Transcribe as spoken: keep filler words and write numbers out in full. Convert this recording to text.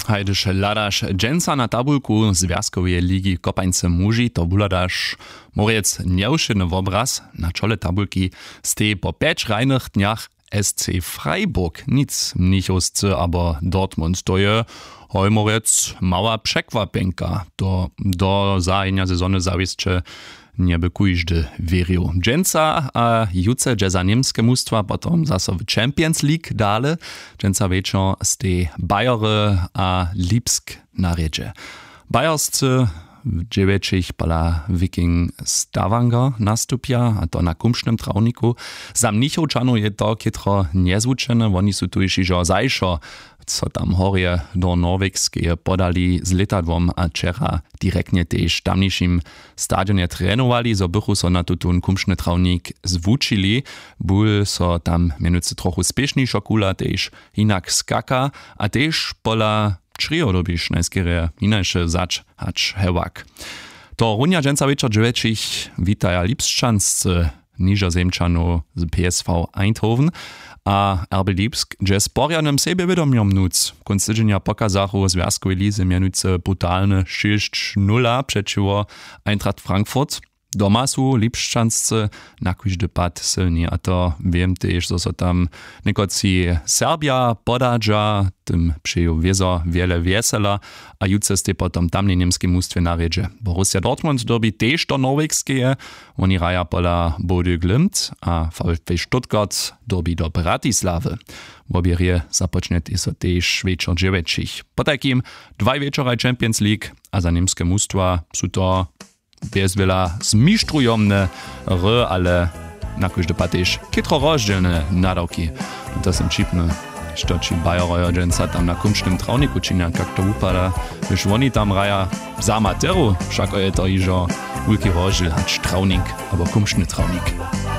Hajdyž hladaš dźensa na tabulku zwjazkoweje ligi kopańce muži, to wuhladaš mórjec njewšědny wobraz. Na čole tabulki stej po pjeć hrajnych dnjach sc freiburg, nic mnichowscy abo dortmund, to je hoj mórjec mała překwapjenka. To do zahajenja sezony zawěsće njeby kóždy wěrił. Dźensa a jutře dźe za němske mustwa potom zaso w champions league dale. Dźensa wječor stej bayery a lipsk na rědźe. Bayerscy w dźewjećich pola wiking stavanger nastupja, a to na kumšnym trawniku. Za mnichowčanow je to chětro njezwučene, woni su tuž hižo zašo so tam horje do norwegskeje podali z lětadłom a wčera direktnje tež w tamnišim stadionje trenowali, zo bychu so na tutón kumšny trawnik zwučili. Bul so tam mjenujcy trochu spěšnišo kula tež hinak skaka a tež pola črějo dyrbiš najskerje hinaše wzać hač hewak. To runja dźensa wječor dźewjećich witaja lipšćanscy nižozemčanow z psv eindhoven a rb lipsk dźe z porjadnym sebjewědomjom nóc. Kónc tydźenja pokazachu w zwjazkowej lize mjenujcy brutalny šěsć nula přećiwo eintracht frankfurt. Doma su lipšćanscy na kóždy pad sylni, a to wěm tež zo so tam někotři serbja podadźa, tym přeju wězo wjele wjesela. A jutře stej potom tamnej němskej mustwje na rědźe. Borussia dortmund dyrbi tež do norwegskeje. Woni hraja pola body glimt a vfb stuttgart dyrbi do bratislawy. Wobě rěje započnjetej so tež wječor dźewjećich. Potajkim dwaj wječoraj champions league a za němske mustwa su to bjezwjela zmištrujomne hry, ale na kóždy pad tež chětro rozdźělne nadawki. To sym ćipny, što ći bajerojo dźensa tam na kumšnym trawniku činja, kak to wupada, hdyž woni tam hraja. Za amaterow wšako je to hižo wulki rozdźěl hač trawnik abo kumšny trawnik.